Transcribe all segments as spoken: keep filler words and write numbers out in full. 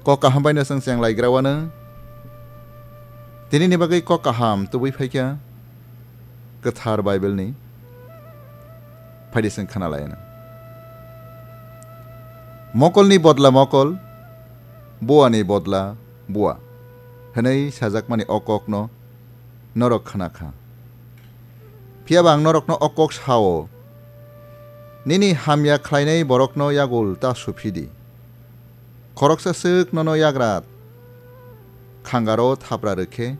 Kok kaham bai no chwng cheng lai gra wano. Tini ni bagwi kok kaham tubui phaikha Kwthar Bible ni. Phaidi chwng khana lai ano. Mokol ni bodla mokol, bua ni bodla bua, hwnwi sajakmani o kok no norok khna kha. Phiya ba ang norokno o kok sao, nini hamya khlainai borokno yagul ta suphi di. Khoroksa swk nono yagra khangaro thapra rwkhe,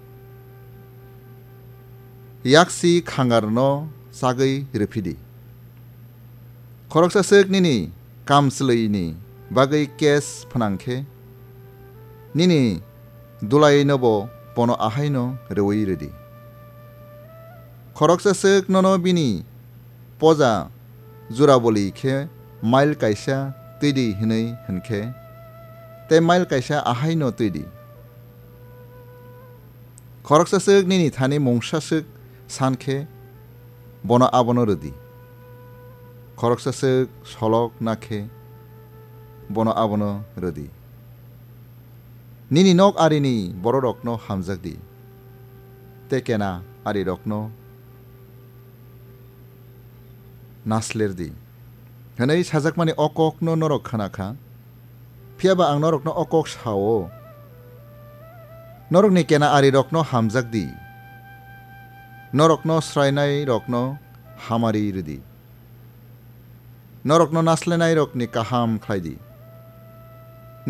yaksi khangarno chagwi rwphi di. Khoroksa swk nini kamchwlwini bagwi kes phnang khe, nini dulaino bo bono ahaino rwui rwdi. Khoroksa swk nono bini poja juraboli khe mail kaisa twi di hwnwi hwn khe, tei mail kaisa ahaino twi di. Khoroksa swk nini thani mungsa swk san khe, bono abono rwdi. Khoroksa swk solok na khe, bono abono rwdi. Nini nok arini bororokno hamjak di, tei kena arirokno nasler di, hwnwi sajakmani o kokno norok khna kha. Phiya ba ang norokno o kok sao, norokni kena arirokno hamjak di, norokno swrainairokno hamari rwdi. Norokno naslenairokni kaham khlai di.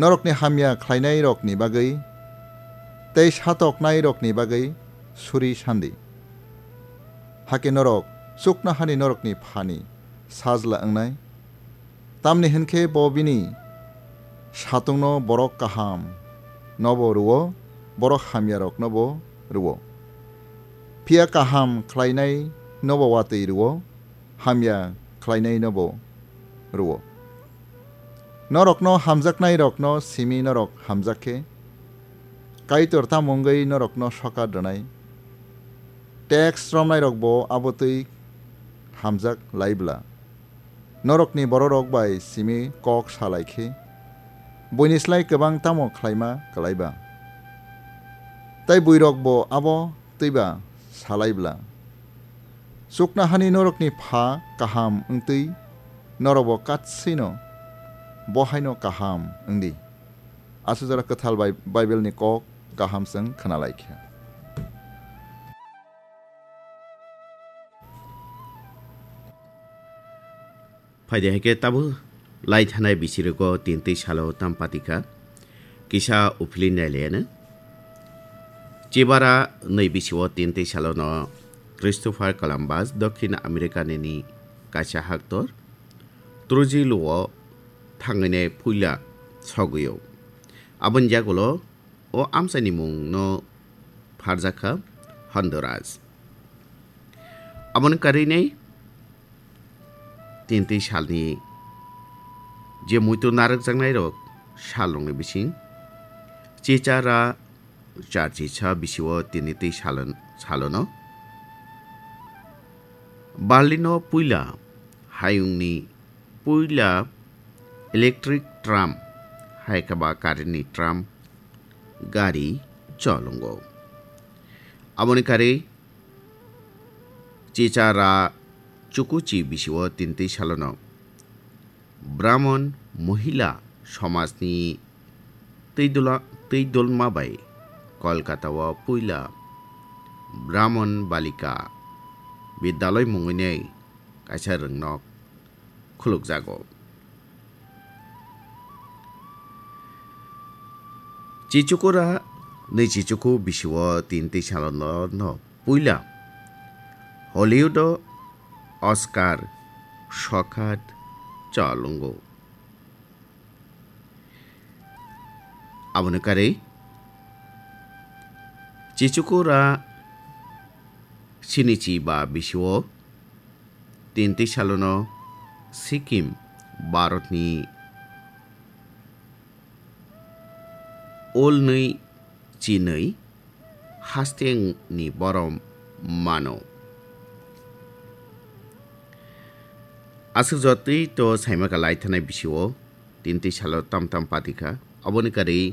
Norokni hamya khlainairokni bagwi tei satoknairokni bagwi suri san di. Hakhe norok chuknohani norokni Phani sajla wngnai. Tamni hwn khe bo bini satungno borok kaham nobo rwo, borok hamyaroknobo rwo. Phiya kaham khlainainobo watwi rwo, hamya khlainainobo rwo. Norokno hamjaknairokno simi norok hamjak khe, Kaitor tamo wngwi norokno sokat rwnai? Teks romnairokbo abo twi hamjak lai bla? Norokni bororok bai simi kok sa lai khe, buini slai kwbang tamo khlaima klai ba? Tai buirokbo abo twi ba sa lai bla? Chuknohani norokni Pha kaham wng twi norokbo katswino bo haino kaham wng di. Aswk jora kwthal bai Bible ni kok kaham chwng khna lai kha. Phaidi hai khe tabuk lai thanai bisirogo tin twi salo tam patikha, kisa uphili nailaiano. Chibara nwi bisio tin twi salono Christopher Columbus, Dokhin America nini kaisa haktor, Trujillo-o thangwinai puila sogwio. Aboni yagulo o amchaini mungno pharjakha Honduras. Aboni karwinai tin twi salni je muitu narwkjaknairok salrokni bising chicha ra charchi sa bisio tin twi salon-, salono Berlino puila hayungni puila electric tram, hai khe ba currentni tram gari cholongo. Aboni karwi chicha ra chukuchi bisio tin twi salono Brahman mohila somajni twi dula-, twi dolma bai Kolkata-o puila Brahman Balika Bidyaloi mungwinai kaisa rwngnok khulukjago. Chichukura ni chichuku bisio tin twi salono no puila Hollywood-o Oscar sokhat cholongo. Aboni karwi chichukura sinichi ba bisio tin twi salono Sikkim, Bharatni olnwi chinwi hasteni borom mano. Aswk jotwi to saimaka lai thanai bisio tin twi salo tam tam patikha. Aboni karwi